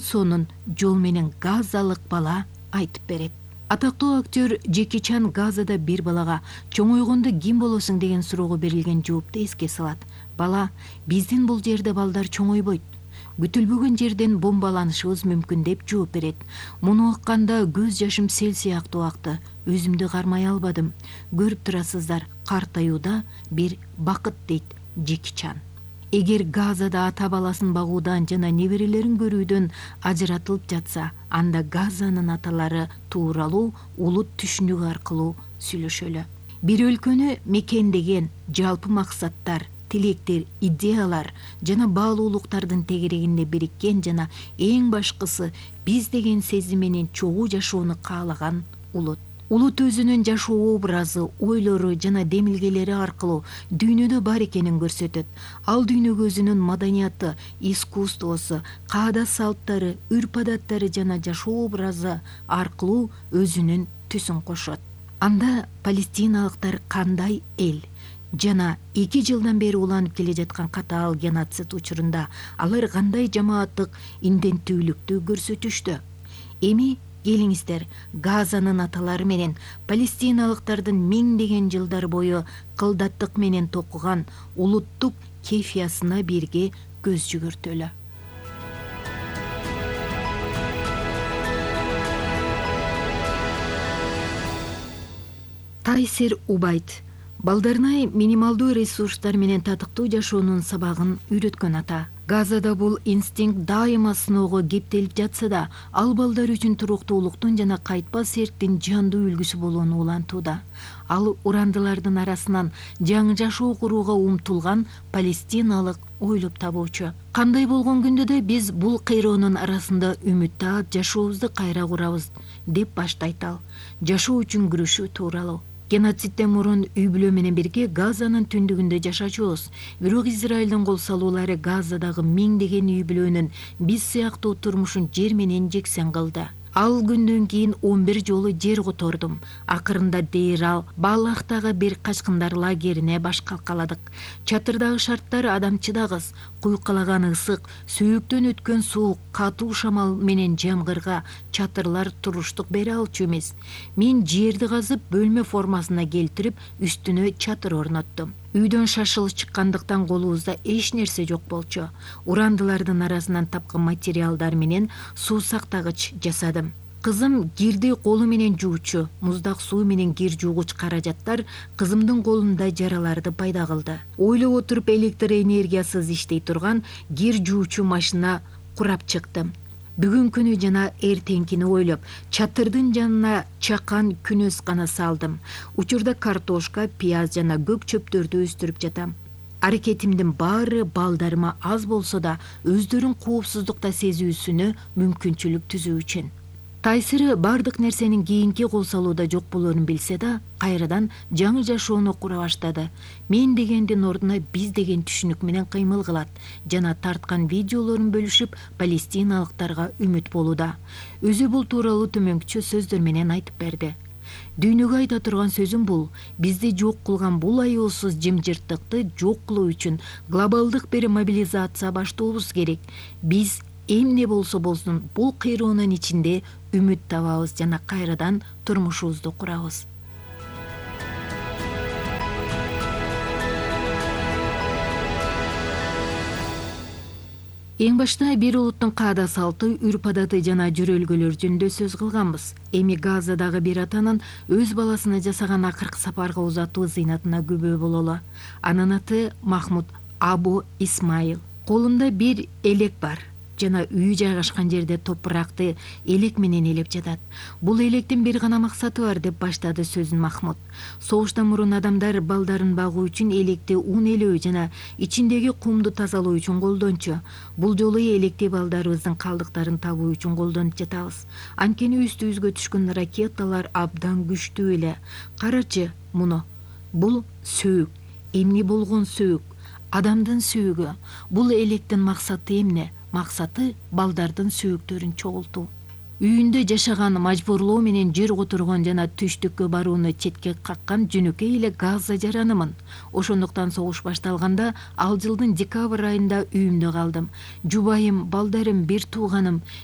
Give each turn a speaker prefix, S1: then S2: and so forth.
S1: сонун жол менен газалык бала айтып берет. Атактуу актер Джеки Чан Газада бир балага чоңойгондо ким болосуң деген суроого берилген жоопту эске салат. Бала: биздин бул жерде балдар чоңойбойт. Күтүлбөгөн жерден бомбаланышыбыз мүмкүн деп жооп берет. Муну укканда көз жашым сел сыяктуу акты. Өзүмдү кармай албадым. Көрүп турасыздар, картаюуда бир бакыт, дейт Джеки Чан. Эгер Газада ата баласын багуудан жана неберелерин көрүүдөн ажыратылып жатса, анда Газанын аталары тууралуу улут түшүнүгү аркылуу сүйлөшөлү. Бир өлкөнү мекендеген жалпы максаттар, тилектер, идеялар жана баалуулуктардын тегерегинде бириккен жана эң башкысы биз деген сезим менен чогуу жашоону каалаган улут. Улут өзүнүн жашоо образы, ойлору жана демилгелери аркылуу дүйнөдө бар экенин көрсөтөт. Ал дүйнөгө өзүнүн маданияты, искусствосу, каада салттары, үрп-адаттары жана жашоо образы аркылуу өзүнүн түсүн кошот. Анда палестиналыктар кандай эл жана 2 жылдан бери уланып келе жаткан катаал геноцид учурунда алар кандай жамааттык инденттүүлүктү көрсөтүштү? Эми келиңиздер, Газанын аталары менен палестиналыктардын миңдеген жылдар бою кылдаттык менен токуган улуттук кефиясына бирге көз жүгүртөлү. Тайсир Убайт балдарына минималдуу ресурстар менен татыктуу жашоонун сабагын үйрөткөн ата. Газада бул инстинкт дайыма сыноого кептелип жатса да, ал балдар үчүн туруктуулуктун жана кайтпас эрктин жандуу үлгүсү болууну улантууда. Ал урандылардын арасынан жаңы жашоо курууга умтулган палестиналык ойлоп табуучу. Кандай болгон күндө да биз бул кыйроонун арасында үмүт таап жашообузду кайра курабыз деп баштайт ал. Жашоо үчүн күрөшүү тууралуу. Геноцидден мурун үй бүлө менен бирге Газанын түндүгүндө жашачубуз. Бирок Израилдин кол салуулары Газадагы миңдеген үй бүлөнүн биз сыяктуу турмушун жер менен жексен кылды. Ал күндөн кийин 11 жолу жер котордум. Акырында Дейрал Балахтагы бир качкындар лагерине баш калкаладык. Чатырдагы шарттар адамчыдагыс, куйкалаган ысык, сөөктөн өткөн суук, катуу шамал менен жамгырга чатырлар туруштук бере алчу эмес. Мен жерди казып, бөлмө формасына келтирип, үстүнө чатыр орноттум. Үйдөн шашылып чыккандыктан колубузда эч нерсе жок болчу. Урандылардын арасынан тапкан материалдар менен суу сактагыч жасадым. Кызым кирди колу менен жуучу, муздак суу менен кир жуугуч каражаттар кызымдын колунда жараларды пайда кылды. Ойлоп отуруп электр энергиясыз иштей турган кир жуучу машина курап чыктым. Бүгүнкүнү жана эртеңкини ойлоп, чатырдын жанына чакан күнөс гана салдым. Учурда картошка, пияз жана көк чөптөрдү өстүрүп жатам. Аракетимдин баары балдарыма аз болсо да өздөрүн коопсуздукта сезүүсүнө мүмкүнчүлүк түзүү үчүн. Тайсыры бардык нерсенин кийинки кол салууда жок болоорун билсе да, кайрадан жаңы жашоону кура баштады. Мен дегендин ордуна биз деген түшүнүк менен кыймыл кылат жана тарткан видеолорун бөлүшүп, палестиналыктарга үмүт болууда. Өзү бул тууралуу төмөнкүчө сөздөр менен айтып берди. Дүйнөгө айта турган сөзүм бул: бизди жок кылган бул аяосуз жымжырттыкты жок кылуу үчүн глобалдык бир мобилизация баштообуз керек. Биз эмне болсо болсун бул кыйроонун ичинде үмүт табабыз жана кайрадан турмушубузду курабыз. Эң башта бир улуттун каада салты, үрп-адаты жана жүрөлгөлөр жөнүндө сөз кылганбыз. Эми Газадагы бир атанын өз баласына жасаган акыркы сапарга узатуу зыйнатына күбө бололу. Анын аты Махмуд Абу Исмаил. Колунда бир элек бар жана үй жайгашкан жерде топуракты элек менен элеп жатат. Бул электин бир гана максаты бар, деп баштады сөзүн Махмуд. Согуштан мурун адамдар балдарын багуу үчүн электи ун элөө жана ичиндеги кумду тазалоо үчүн колдончу. Бул жолу электи балдарыбыздын калдыктарын табуу үчүн колдонуп жатабыз. Анткени үстүбүзгө түшкөн ракеталар абдан күчтүү эле. Карачы муну. Бул сөөк. Эмне болгон сөөк? Адамдын сөөгү. Бул электин максаты эмне? Максаты балдардын сөөктөрүн чогултуу. Үйүндө жашаган, мажбурлоо менен жер которгон жана түштүккө барууну четке каккан жөнөкөй эле Газа жаранымын. Ошондуктан согуш башталганда ал жылдын декабрь айында үйүмдө калдым. Жубайым, балдарым, бир тууганым